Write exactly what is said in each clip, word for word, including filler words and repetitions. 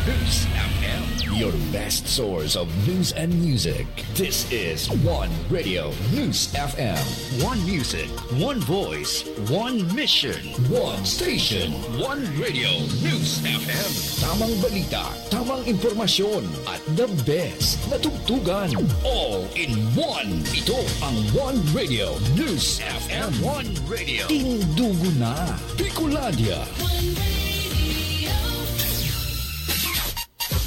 News F M, your best source of news and music. This is One Radio News F M. One music, one voice, one mission. One station, One Radio News F M. Tamang balita, tamang impormasyon, at the best na tugtugan. All in one. Ito ang One Radio News F M. One Radio. Tindugo na. Bicolandia.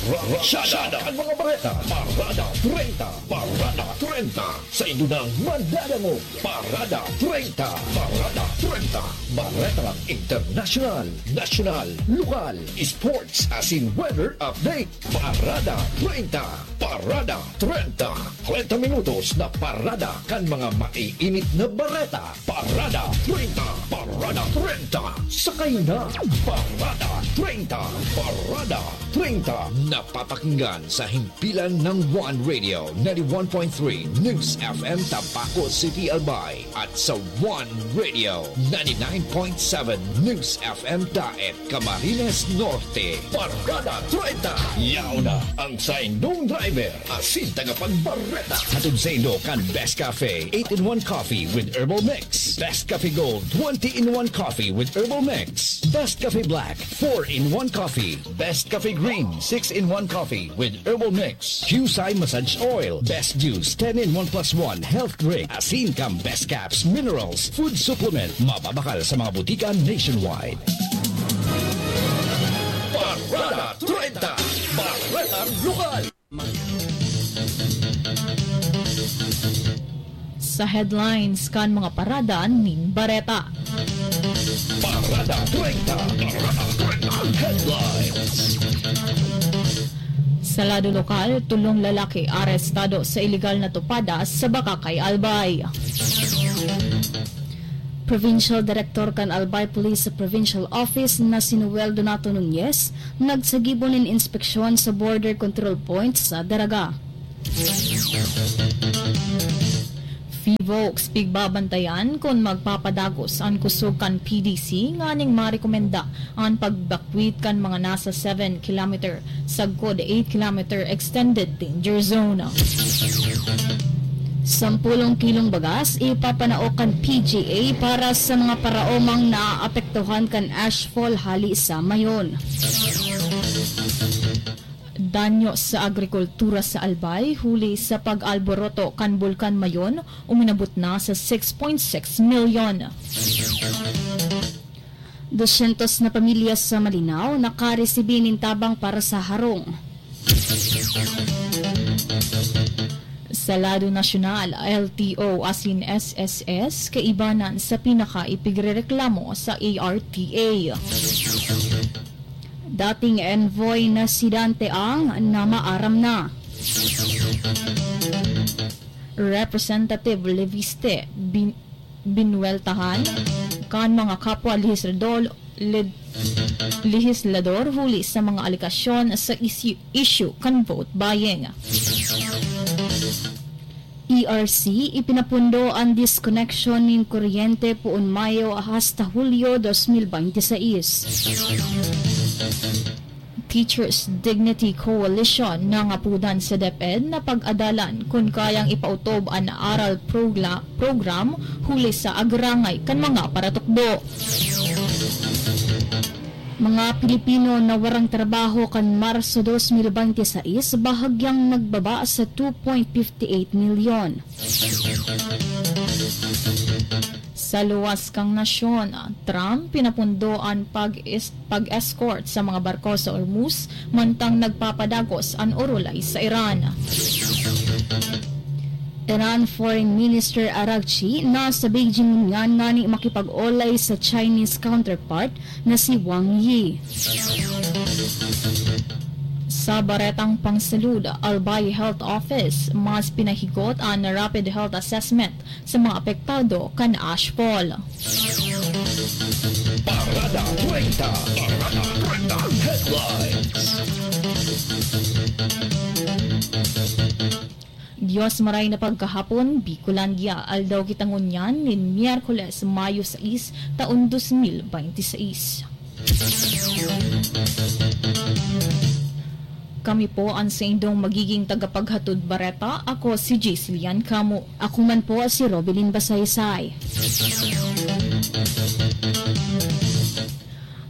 Rasyada ang mga bareta. Parada treinta. Parada treinta. Sa indo nang madadangog. Parada treinta. Parada treinta. Baretang internasyonal, nasyonal, lokal, sports, asin weather update. Parada treinta. Parada treinta. Treinta minutos na parada kan mga maiinit na bareta. Parada treinta. Parada treinta. Sakay na. Parada treinta. Parada treinta. Napapakinggan sa himpilan ng One Radio, ninety-one point three News F M Tabaco City, Albay, at sa One Radio, ninety-nine point seven News F M Daet, Camarines Norte. Parada treinta. Yaon na ang saindong driver asin tagapagbareta. Hatod saindo kan Best Cafe eight-in-one Coffee with Herbal Mix, Best Cafe Gold twenty-in-one Coffee with Herbal Mix, Best Cafe Black four-in-one Coffee, Best Cafe Green six-in-one Coffee with Herbal Mix, Qcye Massage Oil, Best Juice ten-in-one plus one Health Drink, asin kan Best Caps Minerals Food Supplement, mababakal sa mga butika nationwide. Parada treinta, Baretang Lokal. Sa headlines kan mga parada nin bareta. Parada treinta, Parada treinta, headlines. Sa lado lokal, tolong lalaki arestado sa iligal na tupada sa Bacacay, Albay. Provincial Director kan Albay Police Provincial Office na si Noel Donato Nunez nagsagibo nin inspeksyon sa border control point sa Daraga. Fivox, pigbabantayan kun magpapadagos an kusog kan P D C nganing marekomenda an pagbakwit kan mga nasa seven kilometer sagkod eight kilometer extended danger zone. Sampulong kilong bagas ipapanao kan P G A para sa mga paraomang naapektuhan kan ashfall hali sa Mayon. Danyo sa agrikultura sa Albay huli sa pag-alboroto kan Bulkan Mayon uminabot na sa six point six milyon. Dosyentos na pamilya sa Malinao nakaresibi nin tabang para sa harong. Sa lado nasyonal, L T O asin S S S kaibanan sa pinakaipigrereklamo sa A R T A. Dating envoy na si Dante Ang na maaram na. Representative Leviste bin-, binuweltahan kan mga kapwa lehislador, led-, lehislador huli sa mga alegasyon sa issue, issue kan vote buying. E R C, ipinapundo an disconnection nin kuryente poon Mayo hasta Hulyo dos mil bente seis. Teachers Dignity Coalition nangapodan sa DepEd na pag-adalan kun kayang ipautob an aral progla-, program huli sa agrangay kan mga paratukdo. Mga Pilipino na warang trabaho kan Marso dos mil bente seis bahagyang nagbaba sa two point fifty eight milyon. Sa luwas kan nasyon, Trump pinapundo an pag-is-, pag-escort sa mga barko sa Hormuz, mantang nagpapadagos an orolay sa Iran. Iran Foreign Minister Araghchi nasa Beijing ngunyan ngani makipag-olay sa Chinese counterpart na si Wang Yi. Sa baretang pangsalud, Albay Health Office, mas pinahigot an rapid health assessment sa mga apektado kan ashfall. Parada treinta, Parada treinta Headlines. Dios maray na pagkahapon, Bicolandia. Aldaw kita ngunyan nin Miyerkules, Mayo sais, taon dos mil bente seis. Kami po ang saindong magiging tagapaghatod bareta. Ako si Jislian Kamo. Ako man po si Robilin Basaysay.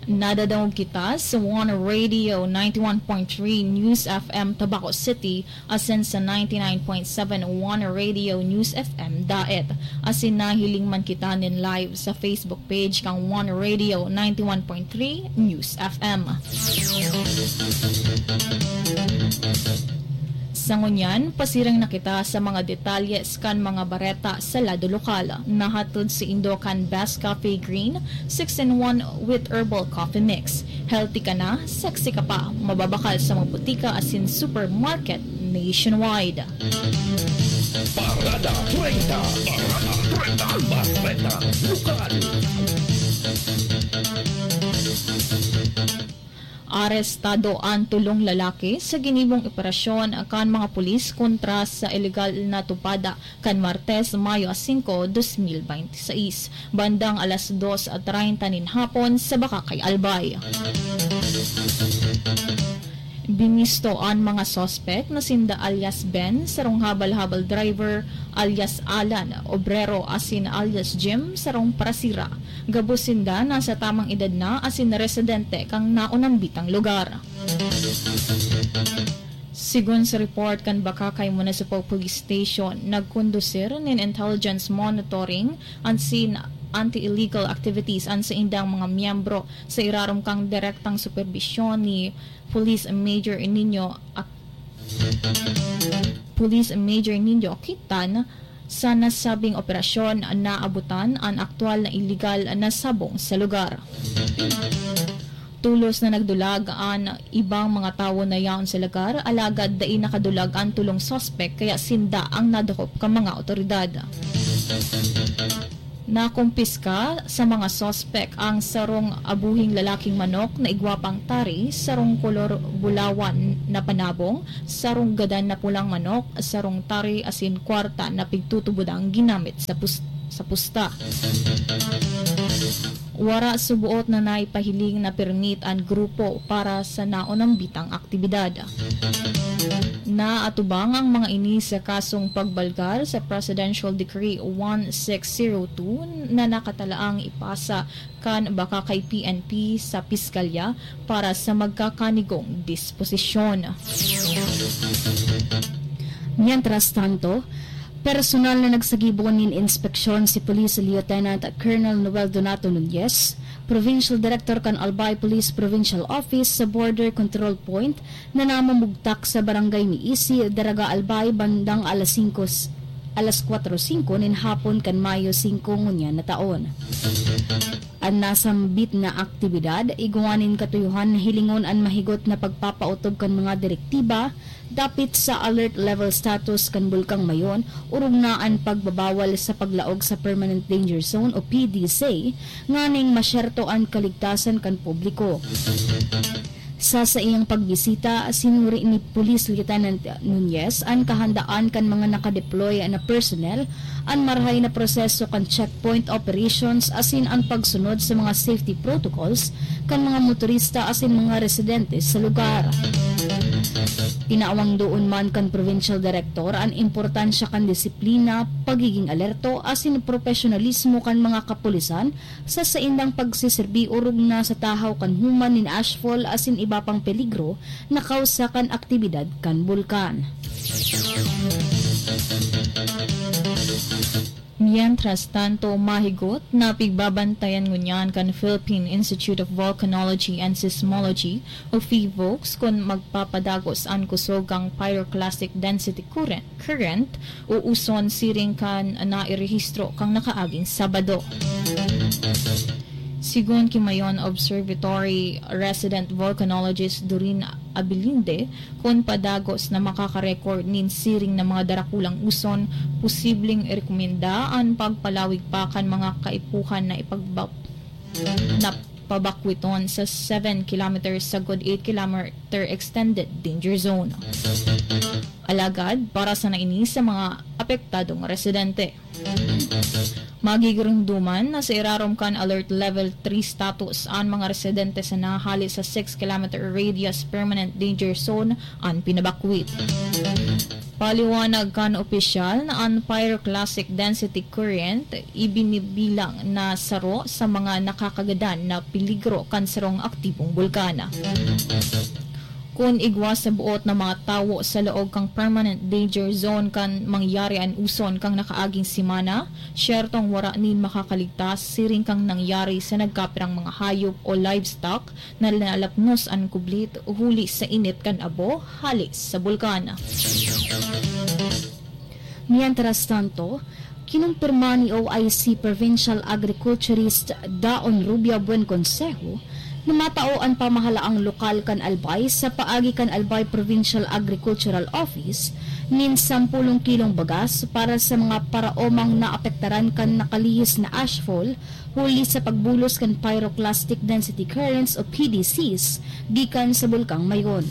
Nadadangog kita sa One Radio ninety-one point three News F M Tabaco City, asin sa ninety-nine point seven One Radio News F M Daet. Asin nahiling man kita nin live sa Facebook page kan One Radio ninety-one point three News F M. Sa ngunyan, pasiring na kita sa mga detalye kan mga bareta sa lado lokal. Nahatod saindo kan Best Cafe Green, six-in-one with herbal coffee mix. Healthy ka na, sexy ka pa. Mababakal sa mga butika asin supermarket nationwide. Parada treinta. Parada treinta. Bareta Lokal. Arestado an tolong lalaki sa ginibong operasyon kan mga pulis kontra sa ilegal na tupada kan Martes, Mayo singko, dos mil bente seis, bandang alas dos treinta nin hapon sa Bacacay, Albay. Binisto an mga suspek na sinda alias Ben, sarong habal-habal driver, alias Alan, obrero, asin alias Jim, sarong parasira. Gabos sinda nasa tamang edad na asin residente kan naunambitang lugar. Sigon sa report kan Bacacay Municipal Police Station, nagkondusir nin intelligence monitoring asin anti-illegal activities an saindang mga miyembro sa irarom kan direktang superbisyon ni Police Major Nino Ac-, Police Major Nino Quintan. Sa nasabing operasyon, naabutan an aktuwal na iligal na sabong sa lugar. Tolos na nagdulag an ibang mga tawo na yaon sa lugar, alagad dai nakadulag an tolong suspek, kaya sinda ang nadakop kan mga awtoridad. Nakumpiska sa mga suspek ang sarong abuhing lalaking manok na igwa pang tari, sarong kolor bulawan na panabong, sarong gadan na pulang manok, sarong tari asin kwarta na pigtutubodang ginamit sa pus-, sa pusta. Wara suboot na naipahiling na permit an grupo para sa naunambitang aktibidad. Naatubang ang mga ini sa kasong pagbalgar sa Presidential Decree one six zero two na nakatalaang ipasa kan Bacacay P N P sa Piskalya para sa magkakanigong disposisyon. Mientras tanto, personal na nagsagibo nin inspeksyon si Police Lieutenant Colonel Noel Donato Nunez, Provincial Director kan Albay Police Provincial Office sa Border Control Point, na namumugtak sa barangay Miisi, Daraga, Albay, bandang alas singko, alas kwatro singko nin hapon kan Mayo singko ngunyan na taon. An nasambit na aktibidad, igwa nin katuyohan na hilingon an mahigot na pagpapautob kan mga direktiba dapit sa alert level status kan Bulkang Mayon, orog na an pagbabawal sa paglaog sa Permanent Danger Zone o P D Z, nganing masyerto an kaligtasan kan publiko. Sa saiyang pagbisita, sinuri ni Police Lieutenant Nunez an kahandaan kan mga nakadeploy na personnel, an marahay na proseso kan checkpoint operations asin an pagsunod sa mga safety protocols kan mga motorista asin mga residente sa lugar. Tinawang doon man kan Provincial Director an importansya kan disiplina, pagiging alerto asin profesionalismo kan mga kapulisan sa saindang pagseserbi orog na sa tahaw kan human nin ashfall asin iba pang peligro na kausa kan aktibidad kan bulkan. Mientras tanto, mahigot na pigbabantayan ngunyan kan Philippine Institute of Volcanology and Seismology o PHIVOLCS kun magpapadagos an kusog kan pyroclastic density current, current o uson siring kan nairehistro kan nakaaging Sabado. Sigon ki Mayon Observatory resident volcanologist Doreen Abilinde, kun padagos na makaka-record nin siring na mga darakulang uson, posibleng irekomenda an pagpalawig pa kan mga kaipuhan na ipagba-, na pabakwiton sa seven kilometers sagkod eight kilometer extended danger zone. Alagad, para sana ini sa mga apektadong residente. Magigiromdoman na sa irarom kan Alert Level three status an mga residente sa nahali sa six kilometer radius permanent danger zone an pinabakwit. Paliwanag kan opisyal na an pyroclastic density current ibinibilang na saro sa mga nakakagadan na peligro kan sarong aktibong bulkan. Kun igwa sa boot na mga tawo sa laog kan permanent danger zone kan mangyari an uson kan nakaaging semana, syertong wara nin makakaligtas siring kan nangyari sa nagkapirang mga hayop o livestock na nalapnos an kublit huli sa init kan abo hale sa bulkan. Mientras tanto, kinumpirma ni O I C Provincial Agriculturist Daon Rubia Buen Consejo na matao an pamahalaang lokal kan Albay sa paagi kan Albay Provincial Agricultural Office nin sampulong kilong bagas para sa mga paraomang naapektaran kan nakalihis na ashfall huli sa pagbulos kan pyroclastic density currents o P D Cs gikan sa Bulkang Mayon.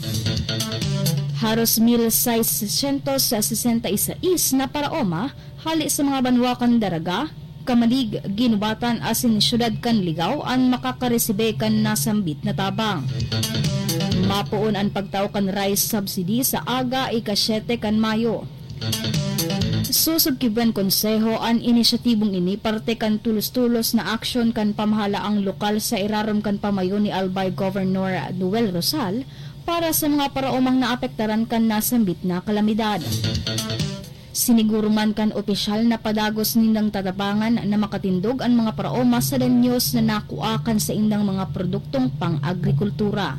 Haros mil seiscientos sesenta y seis na paraoma hale sa mga banwa kan Daraga, Camalig, Guinobatan asin siyudad kan Ligao an makakaresibe kan nasambit na tabang. Mapoon an pagtao kan rice subsidy sa aga ika-siyete kan Mayo. Sosog ki Buen Consejo an inisyatibong ini parte kan tulos-tulos na aksyon kan pamahalaang lokal sa irarom kan pamayo ni Albay Governor Noel Rosal para sa mga paraomang naapektaran kan nasambit na kalamidad. Siniguro man kan opisyal na padagos nindang tatabangan na makatindog an mga paraoma sa danyos na nakua kan saindang mga produktong pang-agrikultura.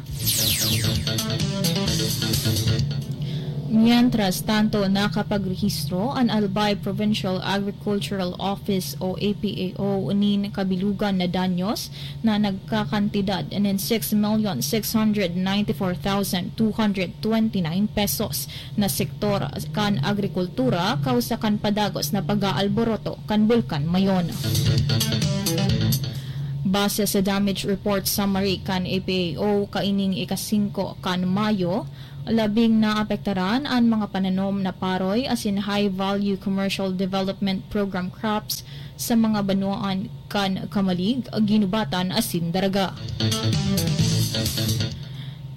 Mientras tanto, nakapagrehistro an Albay Provincial Agricultural Office o A P A O nin kabilugan na danyos na nagkakantidad nin six million six hundred ninety-four thousand two hundred twenty-nine pesos na sektor kan agrikultura kausa kan padagos na pag-aalboroto kan Bulkan Mayon. Base sa damage report summary kan A P A O kaining ika-singko kan Mayo, labing naapektaran an mga pananom na paroy asin high-value commercial development program crops sa mga banwaan kan Camalig, Guinobatan asin Daraga.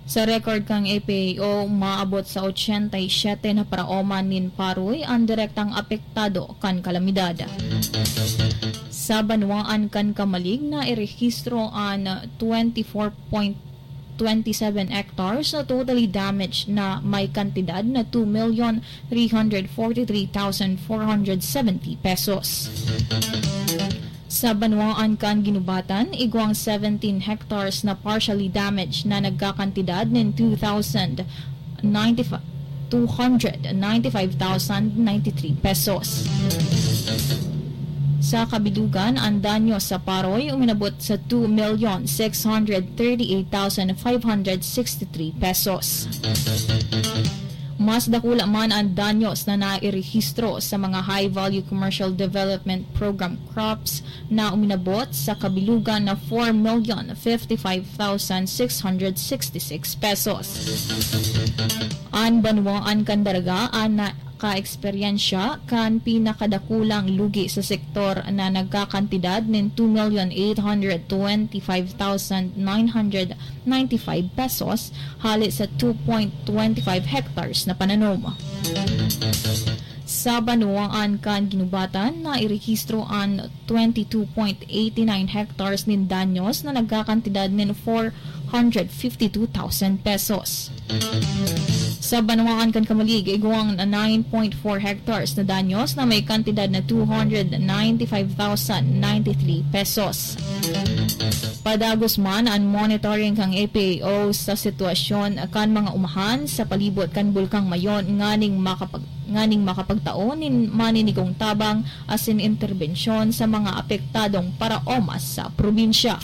Sa record kan A P A O, maabot sa ochenta y siete na paraoma nin paroy an direktang apektado kan kalamidad. Sa banwaan kan Camalig, nairehistro an twenty-four point twenty-seven hectares na totally damaged na may kantidad na two million three hundred forty-three thousand four hundred seventy pesos. Sa banwaan kan Guinobatan, igwang seventeen hectares na partially damaged na nagkakantidad nin two thousand ninety-five, two hundred ninety-five thousand ninety-three pesos. Sa kabilugan, ang danyo sa paroy uminabot sa two million six hundred thirty-eight thousand five hundred sixty-three pesos. Mas dakula man ang danyos na nairehistro sa mga High Value Commercial Development Program crops na uminabot sa kabilugan na four million fifty-five thousand six hundred sixty-six pesos. An banwaan kan Daraga an nakaeksperyensya kan pinakadakulang lugi sa sektor na nagkakantidad nin two million eight hundred twenty-five thousand nine hundred ninety-five pesos hale sa two point twenty-five hectares na pananom. Sa banwaan kan Guinobatan, nairehistro an twenty-two point eighty-nine hectares nin danyos na nagkakantidad nin four hundred fifty-two thousand pesos. Sa banwaan kan Camalig, igwang na nine point four hectares na danyos na may kantidad na two hundred ninety-five thousand ninety-three pesos. Padagos man an monitoring kan A P A O sa sitwasyon kan mga umahan sa palibot kan Bulkang Mayon nganing makapag-, nganing makapagtao nin maninigong tabang asin interbensyon sa mga apektadong paraoma sa probinsya.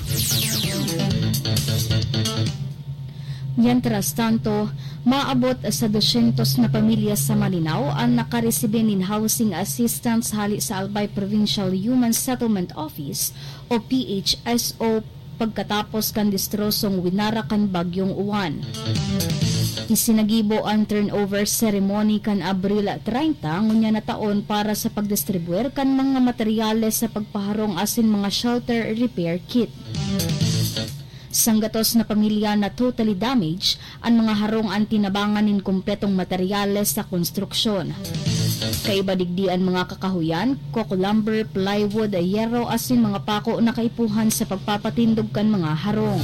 Mientras tanto, maabot sa dosyentos na pamilya sa Malinao an nakaresibi nin housing assistance hali sa Albay Provincial Human Settlement Office o P H S O pagkatapos kan destrosong winara kan Bagyong Uwan. Isinagibo an turnover ceremony kan Abril treinta ngunyan na taon para sa pagdistribuir kan mga materyales sa pagpaharong asin mga shelter repair kit. Sanggatos na pamilya na totally damaged, an mga harong an tinabangan nin kumpletong materyales sa konstruksyon. Kaiba digdi an mga kakahoyan, coco lumber, plywood, yero asin mga pako na kaipuhan sa pagpapatindog kan mga harong.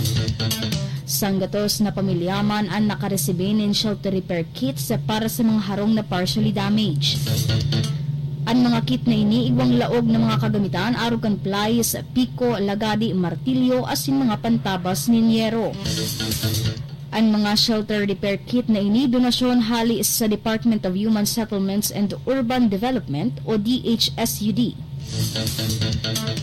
Sanggatos na pamilya man an nakaresibi nin shelter repair kits para sa mga harong na partially damaged. An mga kit na ini igwang laog na mga kagamitan arog kan plies, piko, lagadi, martilyo asin mga pantabas nin yero. An mga shelter repair kit na ini donasyon hali sa Department of Human Settlements and Urban Development o D H S U D.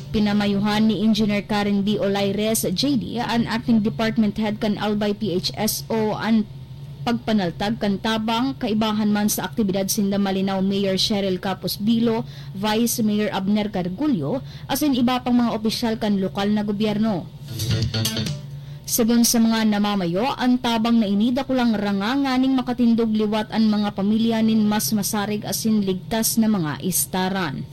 Pinamayuhan ni Engineer Karen B. Olaires, J D, an acting department head kan Albay P H S O, an pagpanaltag kan tabang, kaibahan man sa aktibidad sinda Malinao Mayor Cheryl Capos Bilo, Vice Mayor Abner Gargullo, asin iba pang mga opisyal kan lokal na gobyerno. Segun sa mga namamayo, an tabang na ini dakulang ranga nganing makatindog liwat an mga pamilya nin mas masarig asin ligtas na mga istaran.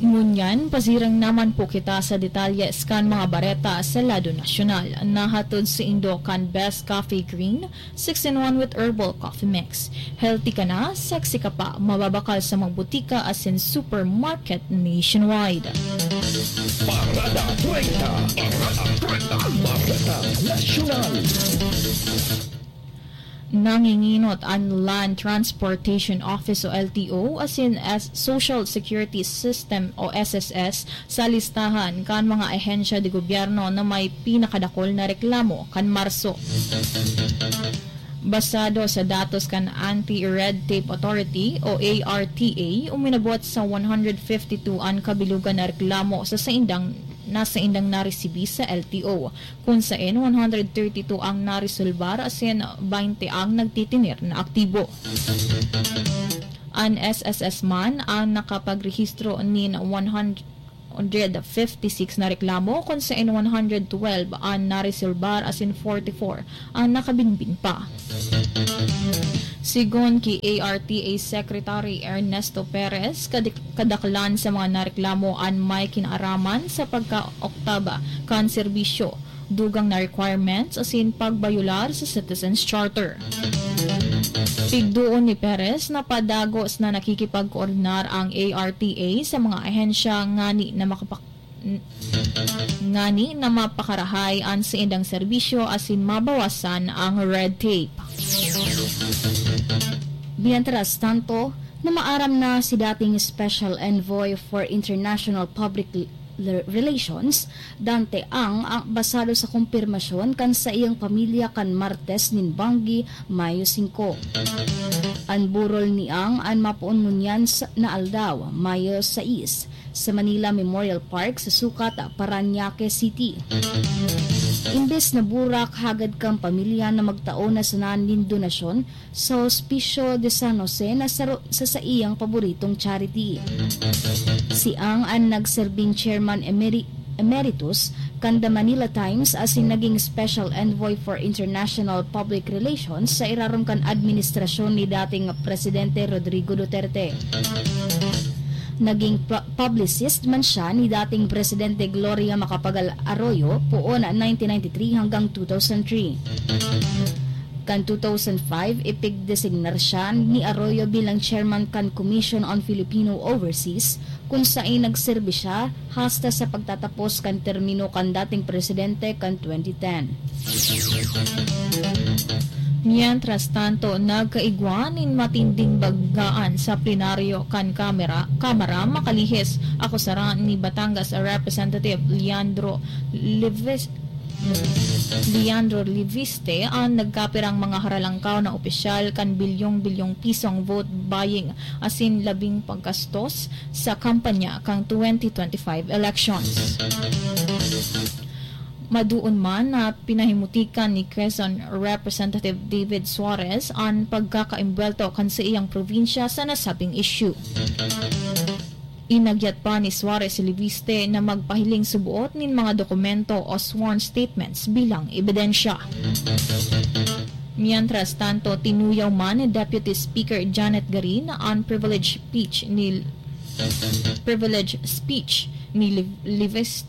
Ngunyan, pasirang naman po kita sa detalye kan mga bareta sa lado nasyonal. Nahatod saindo kan Best Coffee Green, six in one with Herbal Coffee Mix. Healthy ka na, sexy ka pa, mababakal sa mga butika asin supermarket nationwide. Parada treinta. Parada treinta. Bareta Nasyonal. Nanginginot an Land Transportation Office o L T O asin as Social Security System o S S S sa listahan kan mga ahensya de gobyerno na may pinakadakol na reklamo kan Marso. Basado sa datos kan Anti-Red Tape Authority o A R T A, uminabot sa one hundred fifty-two an kabilugan na reklamo sa saindang, na saindang naresibi sa L T O, kun saen one hundred thirty-two ang naresolbar asin baynte ang nagtitener na aktibo. An S S S man ang nakapagrehistro nin one hundred fifty-six na reklamo, kun saen one hundred twelve an naresolbar asin forty-four ang nakabinbin pa. Sigon ki A R T A Secretary Ernesto Perez, kadik-, kadaklan sa mga nareklamo an may kinaaraman sa pagkaoktaba kan serbisyo, dugang na requirements asin pagbayular sa Citizens Charter. Pigdoon ni Perez na padagos na nakikipagkoordinar ang A R T A sa mga ahensya ngani na makapak-, n-, ngani na mapakarahay an saindang serbisyo asin mabawasan ang red tape. Mientras tanto, namaaram na si dating Special Envoy for International Public L-, Relations, Dante Ang, ang basado sa kumpirmasyon kan saiyang pamilya kan Martes nin banggi, Mayo singko. An burol ni Ang an mapoon ngunyan sa, na aldaw, Mayo sais, sa Manila Memorial Park sa sukat Parañaque City. Imbes na burak hagad kan pamilya na magtao na sana nin donasyon sa Hospicio de San Jose na saro sa saiyang paboritong charity. Si Ang an nagserbing Chairman Emeri-, Emeritus kan The Manila Times asin naging Special Envoy for International Public Relations sa irarom kan administrasyon ni dating Presidente Rodrigo Duterte. Naging pu-, publicist man siya ni dating Presidente Gloria Macapagal Arroyo poon nineteen ninety-three hanggang two thousand three. Kan two thousand five, ipigdesignar siya ni Arroyo bilang chairman kan Commission on Filipino Overseas, kun saen nagserbi siya hasta sa pagtatapos kan termino kan dating presidente kan twenty ten. Mientras tanto, nagkaigwa nin matinding baggaan sa plenaryo kan kamera, Kamara makalihis, akusara ni Batangas Representative Leandro Levis-, Leandro Leviste an nagkapirang mga haralangkaw na opisyal kan bilyong-bilyong pisong vote buying asin labing paggastos sa kampanya kan twenty twenty-five elections. Maduon man na pinahimutikan ni Quezon Representative David Suarez an pagkakaimbwelto kan saiyang probinsya sa nasabing issue. Inagyat pa ni Suarez si Leviste na magpahiling suboot nin mga dokumento o sworn statements bilang ebidensya. Mientras tanto, tinuyaw man ni Deputy Speaker Janet Garin an privilege speech ni privilege speech ni Lev- Levis-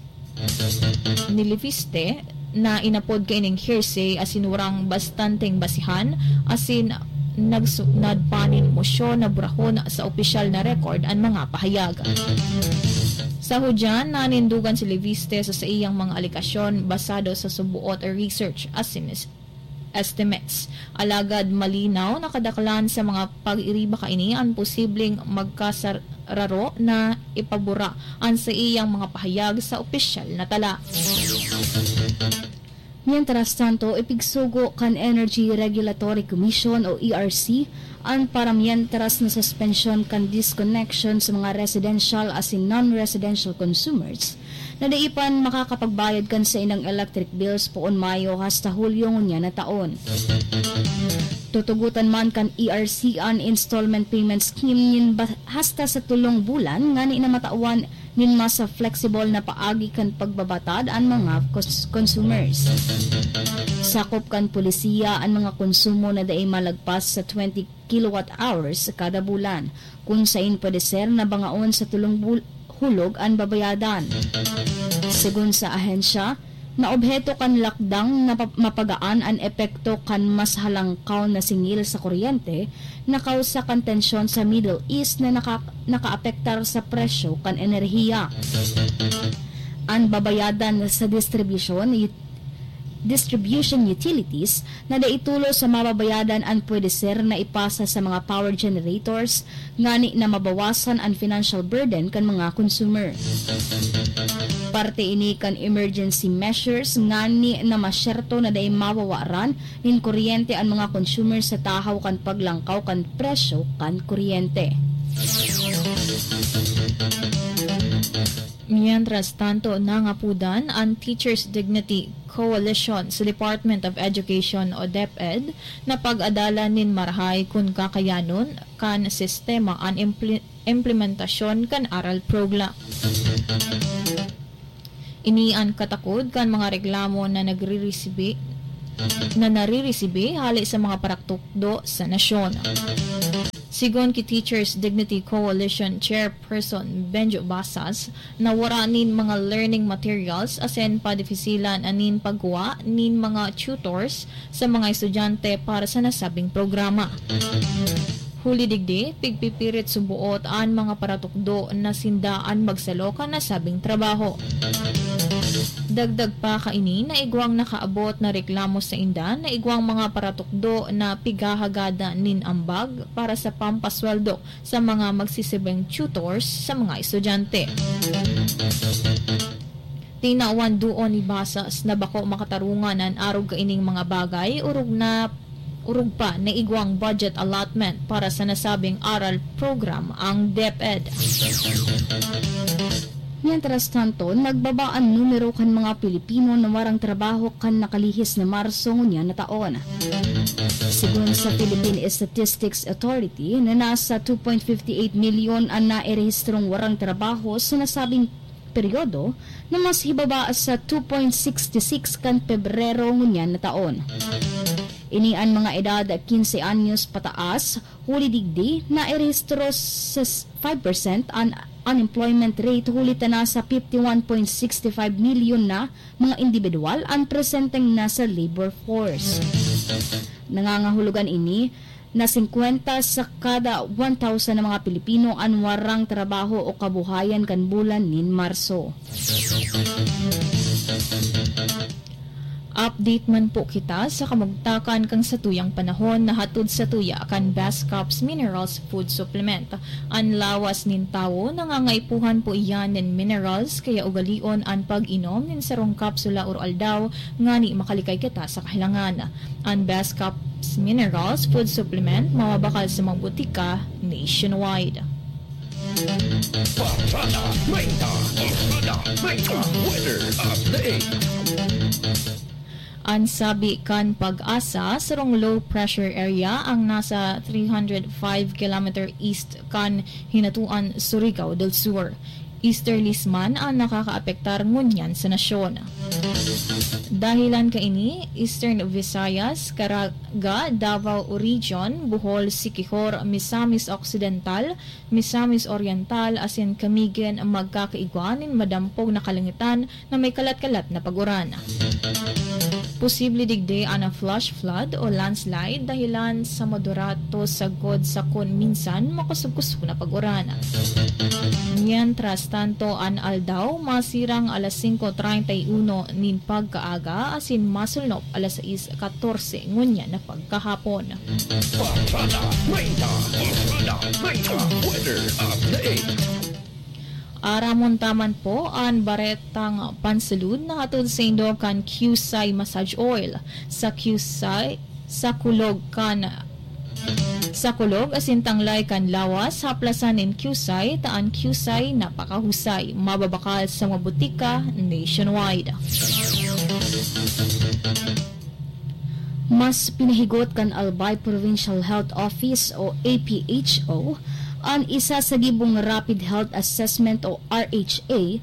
ni Leviste na inapod kaining hearsay asin warang bastanteng basihan asin nagsunad pa nin mosyon na burahon sa opisyal na record an mga pahayag. Sa hudyan, nanindugan si Leviste sa saiyang mga alegasyon basado sa suboot a research asin estimates. Alagad malinaw na kadaklan sa mga pag-iriba kaini an posibleng magkasararo na ipabura an saiyang mga pahayag sa opisyal na tala. Mientras tanto, ipigsugo kan Energy Regulatory Commission o E R C an paramientras na suspensyon kan disconnection sa mga residential asin non-residential consumers na dai pa makakapagbayad kan saindang electric bills poon Mayo hasta Hulyo ngunyan na taon. Tutugotan man kan E R C an installment payment scheme nin ba- hasta sa tolong bulan ngani na matawan nin mas flexible na paagi kan pagbabatad an mga cons- consumers. Sakop kan polisiya an mga konsumo na dai malagpas sa twenty kilowatt hours kada bulan, kun sain pwede ser na bangaon sa tolong bul- hulog an babayadan. Segun sa ahensya, naobheto kan lakdang na pa- mapagaan an epekto kan mas halangkaw na singil sa kuryente na kausa kan tensyon sa Middle East na naka- nakaapektar sa presyo kan enerhiya. An babayadan sa distribusyon, ut- distribution utilities na dai tolos sa mababayadan an pwede ser na ipasa sa mga power generators ngani na mabawasan an financial burden kan mga consumer. Parte ini kan emergency measures ngani na masyerto na dai mawawaran nin kuryente an mga consumer sa tahaw kan paglangkaw kan presyo kan kuryente. Mientras tanto, nangapudan an Teachers Dignity Coalition sa Department of Education o DepEd na pag-adalan nin marahay kun kakayanon kan sistema an impli- implementasyon kan aral program. Ini an katakod kan mga reklamo na nagririsibi na naririsibi hali sa mga paratukdo sa nasyon. Sigon ki Teachers Dignity Coalition Chairperson Benjo Basas, nawara nin mga learning materials asin padifisilan an nin pagkuha nin mga tutors sa mga estudyante para sa nasabing programa. Huli digdi, pigpipirit suboot an mga paratukdo na sinda an magsalo kan nasabing trabaho. Dagdag pa kaini na igwang nakaabot na reklamo sa inda na igwang mga paratukdo na pighahagadan nin ambag para sa pampasweldo sa mga magsisibing tutors sa mga estudyante. Tinawan duon ni Basas na bako makatarungan an arog kaining mga bagay, orog na orog pa na igwang budget allotment para sa nasabing aral program ang DepEd. Mientras tanto, nagbaba an numero kan mga Pilipino na warang trabaho kan nakalihis na Marso ngunyan na taon. Sigon sa Philippine Statistics Authority na nasa two point fifty eight milyon an nairehistrong warang trabaho sa nasabing peryodo na mas hibaba sa two point sixty six kan Pebrero ngunyan na taon. Ini an mga edad quince anyos pataas, huli digdi nairehistro sa five percent an unemployment rate, huli ta nasa fifty one point six five milyon na mga indibidwal an presenteng nasa labor force. Nangangahulugan ini na singkwenta sa kada one thousand na mga Pilipino an warang trabaho o kabuhayan kan bulan nin Marso. Update man po kita sa kamugtakan kan satuyang panahon na hatod satuya kan Best Crops Minerals Food Supplement. An lawas nin tawo nangangaipuhan po iyan nin minerals, kaya ugalion an pag-inom nin sarong kapsula oro-aldaw ngani makalikay kita sa kahilangan. An Best Crops Minerals Food Supplement mababakal sa mga botika nationwide. Barkada treinta, Barkada treinta, Weather Update. An sabi kan PAGASA, sarong low pressure area ang nasa three hundred five kilometer east kan Hinatuan, Surigao del Sur. Easterlies man an nakakaapektar ngunyan sa nasyon. Dahilan kaini, Eastern Visayas, Caraga, Davao Region, Bohol, Siquijor, Misamis Occidental, Misamis Oriental asin Camiguin magkakaigwa nin madampog na kalangitan na may kalat-kalat na pag-uran. Posible digdi an flash flood o landslide dahilan sa moderato sagkod sa kun minsan makosog-kosog na pag-uran. Mientras tanto, an aldaw masirang alas singko treinta y uno nin pagkaaga asin masulnop alas sais katorse ngunyan na pagkahapon. Barkada treinta, Barkada treinta, weather update. Aramon ta man po an baretang pansulud na hatod saindo kan Qsai Massage Oil. Sa Qsai, sa kulog kan, sa kulog asin tanglay kan lawas, haplasan nin Qsai, ta an Qsai napakahusay, mababakal sa mga butika nationwide. Mas pinahigot kan Albay Provincial Health Office o A P H O an isa sa gibong Rapid Health Assessment o R H A,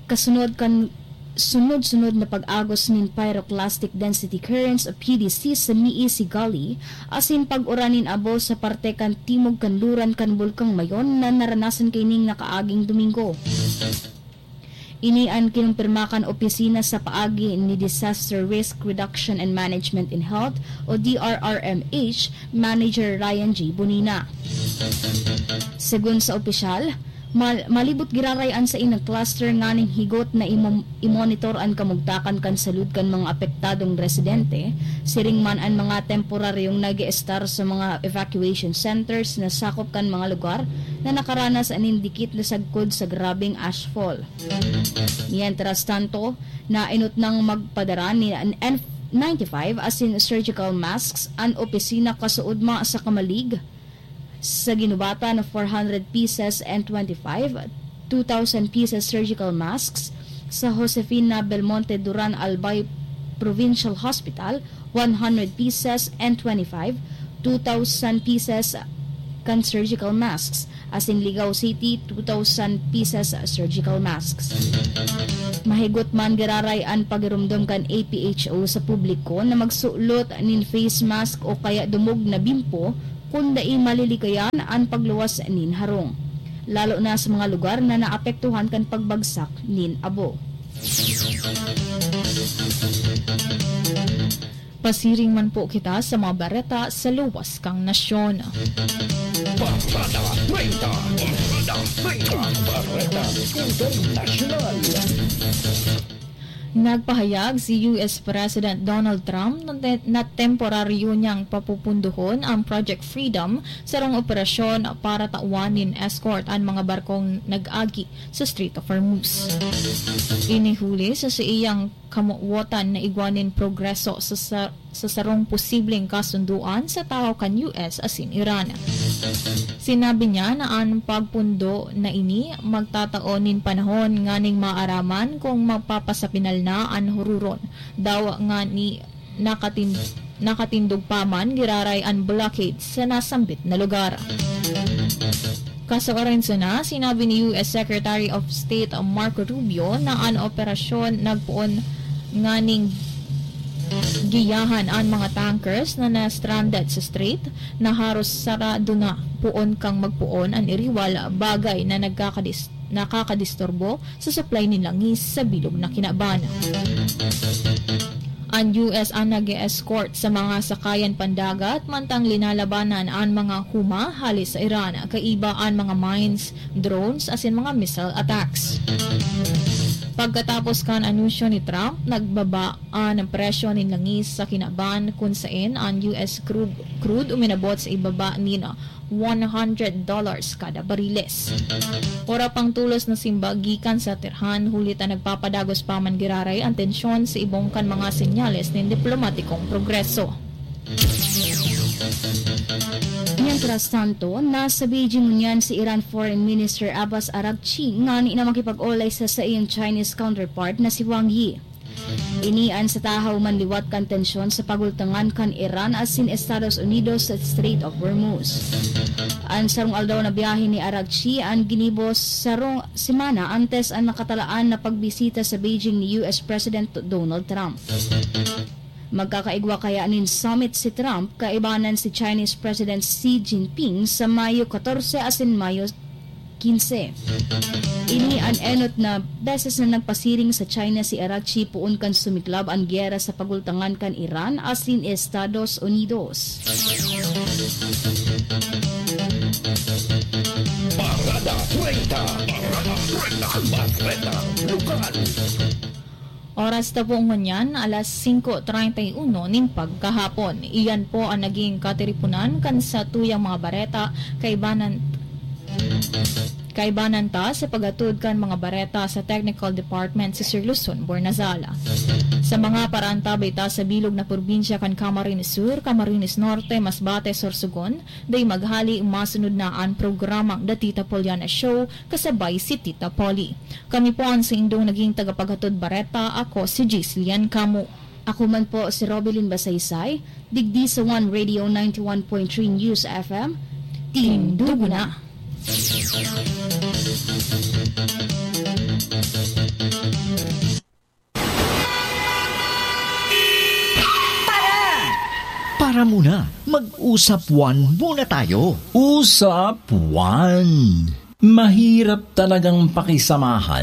kasunod kan sunod-sunod na pag-agos nin pyroclastic density currents o P D C sa Mii Sigali, asin pag-uran nin abo sa parte kan timog kanluran kan Bulkang Mayon na naranasan kaining nakaaging Domingo. Ini an kinumpirma kan opisina sa paagi ni Disaster Risk Reduction and Management in Health o D R R M H Manager Ryan J Bonina. Segun sa opisyal, mal- malibot giraray an saindang cluster nganing higot na imo- i-monitor an kamugtakan kan salud kan mga apektadong residente, siring man an mga temporaryong nag-eestar sa mga evacuation centers na sakop kan mga lugar na nakaranas nin dikit na sagkod sa grabeng ashfall. Mientras tanto, nainot nang magpadara nin N ninety-five asin surgical masks an opisina kasuodma sa Camalig, sa Guinobatan, four hundred pieces and twenty-five, two thousand pieces surgical masks, sa Josefina Belmonte Duran Albay Provincial Hospital, one hundred pieces and twenty-five, two thousand pieces kan surgical masks, asin Ligao City, two thousand pieces surgical masks. Mahigot man giraray an pagiromdom kan A P H O sa publiko na magsulot nin face mask o kaya dumog na bimpo kun dai malilikayan an pagluwas nin harong, lalo na sa mga lugar na naapektuhan kan pagbagsak nin abo. Pasiring man po kita sa mga bareta sa luwas kang nasyon. Barkada treinta, Barkada treinta, Barkada Internasyonal. Nagpahayag si U S President Donald Trump na te- na temporaryo niyang papupundohon ang Project Freedom, sarong operasyon para tawan nin escort an mga barkong nag-agi sa Strait of Hormuz. Ini huli sa saiyang kamowotan na igwa nin progreso sa, sa, sa sarong posibleng kasundoan sa tahaw kan U S asin Iran. Sinabi niya na an pagpundo na ini magtatao nin panahon nganing maaraman kung mapapasapinal na an hururon, dawa nga ni nakatin-, nakatindog pa man giraray an blockade sa nasambit na lugar. Kasuarenso na, sinabi ni U S Secretary of State Marco Rubio na an operasyon nagpoon nganing giyahan an mga tankers na na-stranded sa strait na haros sarado na poon kang magpoon an iriwal, bagay na nagkakadis-, nakakadisturbo sa supply nin langis sa bilog na kinaban. An U S an nag-e-escort sa mga sakayan pandagat mantang linalabanan an mga huma hale sa Iran, kaiba an mga mines, drones asin mga missile attacks. Pagkatapos kan anunsyo ni Trump, nagbaba an presyo nin langis sa kinaban, kun saen an U S crude, crude uminabot sa ibaba nin one hundred dollars kada bariles. Wara pang tolos na simbag gikan sa Tehran, huli ta nagpapadagos pa man giraray an tensyon sa ibong kan mga senyales nin diplomatikong progreso. Mientras tanto, nasa Beijing ngunyan si Iran Foreign Minister Abbas Araghchi ngani na makipag-olay sa saiyang Chinese counterpart na si Wang Yi. Ini an sa tahaw man liwat kan tensyon sa pagultangan kan Iran asin Estados Unidos sa Strait of Hormuz. An sarong aldaw na biyahe ni Araghchi an ginibo sarong semana antes an nakatalaan na pagbisita sa Beijing ni U S President Donald Trump. Magkakaigwa kaya nin summit si Trump kaibanan si Chinese President Xi Jinping sa Mayo katorse asin Mayo kinse. Ini an enot na beses na nagpasiring sa China si Araghchi poon kan sumiklab an giyera sa pagultangan kan Iran asin Estados Unidos. Parada treinta. Parada treinta. Bareta Lokal. Oras ta po ngunyan, alas singko treinta y uno nin pagkahapon. Iyan po ang naging katiripunan kan satuyang mga bareta kaibanan kaibanan ta sa paghatod kan mga bareta sa Technical Department si Sir Luzon Bornazal. Sa mga paraantabay ta sa bilog na probinsya kan Camarines Sur, Camarines Norte, Masbate, Sorsogon, dai maghali, masunod na an programang The Tita Poliana Show kasabay si Tita Polly. Kami po an saindong naging tagapaghatod bareta. Ako si Gislian Camo. Ako man po si Robilin Basaysay, digdi sa One Radio ninety-one point three News F M. Tindugo na! Para muna, mag-usap one muna tayo. Usap One. Mahirap talagang pakisamahan